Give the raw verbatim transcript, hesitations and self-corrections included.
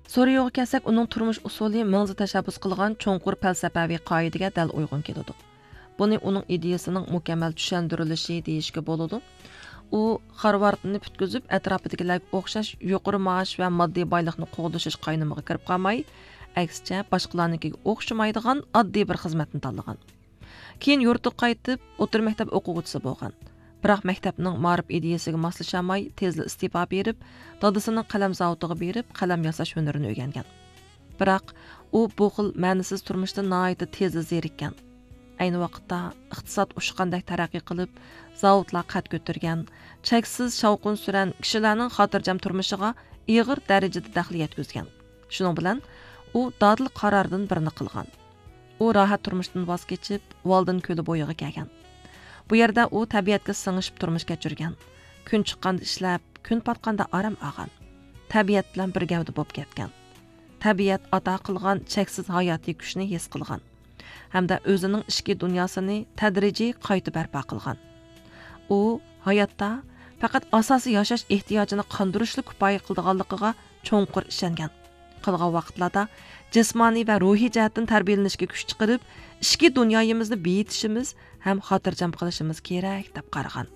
سورىيوغا كەلسەك، ئۇنىڭ تۇرمۇش ئۇسۇلى مىڭزا تەشەببۇس قىلغان چوڭقۇر پەلسەپەۋى قائىدىگە دەل ئۇيغۇن كېلىدۇ. بۇنى ئۇنىڭ ئىدىيىسىنىڭ مۇكەممەل چۈشەندۈرۈلۈشى دېيىشكە بولىدۇ. ئۇ خارۋاردنى پۈتكۈزۈپ، ئەتراپىدىكىلەرگە ئوخشاش يۇقىرى مائاش ۋە ماددىي بايلىقنى قوغدىشىش قاينىمىغا كىرىپ قالماي، ئەكسىچە، باشقىلارنىڭكىگە ئوخشىمايدىغان ئاددىي بىر خىزمەتنى تاللىغان. كېيىن يۇرتىغا قايتىپ، ئوتتۇرا مەكتەپ ئوقۇغۇچىسى بولغان. بىراق مەكتەپنىڭ مائارىپ ئىدىيىسىگە ماسلىشالماي، تېزلا ئىستېپا بېرىپ، دادىسىنىڭ قەلەم زاۋۇتىغا بېرىپ، قەلەم ياساش ھۈنىرىنى ئۆگەنگەن. بىراق ئۇ بۇ خىل مەنىسىز تۇرمۇشتىن ناھايىتى تېزلا زېرىككەن. ئەينى ۋاقىتتا ئىقتىساد ئۇچقاندەك تەرەققىي قىلىپ، زاۋۇتلار قەد كۆتۈرگەن، چەكسىز شاۋقۇن-سۈرەن كىشىلەرنىڭ خاتىرجەم تۇرمۇشىغا ئېغىر دەرىجىدە دەخلى يەتكۈزگەن. شۇنىڭ بىلەن ئۇ دادىل قاراردىن بىرنى قىلغان. ئۇ راھەت تۇرمۇشتىن ۋاز كېچىپ، ۋالدىن كۆلى بويىغا كەلگەن. بۇ يەردە ئۇ تەبىئەتكە سىڭىشىپ تۇرمۇش كەچۈرگەن. كۈن چىققاندا ئىشلەپ، كۈن پاتقاندا ئارام ئالغان. تەبىئەت بىلەن بىر گەۋدە بولۇپ كەتكەن. تەبىئەت ئاتا قىلغان چەكسىز ھاياتىي كۈچنى ھېس قىلغان ھەمدە ئۆزىنىڭ ئىچكى دۇنياسىنى تەدرىجىي قايتا بەرپا قىلغان. ئۇ ھاياتتا پەقەت ئاساسىي ياشاش ئېھتىياجىنى قاندۇرۇشلا كۇپايە قىلىدىغانلىقىغا چوڭقۇر ئىشەنگەن. قالغان ۋاقىتلاردا جىسمانىي ۋە روھىي جەھەتتىن تەربىيەلىنىشكە كۈچ چىقىرىپ، ئىچكى دۇنيايىمىزنى بېيىتىشىمىز ھەم خاتىرجەم قىلىشىمىز كېرەك، دەپ قارىغان.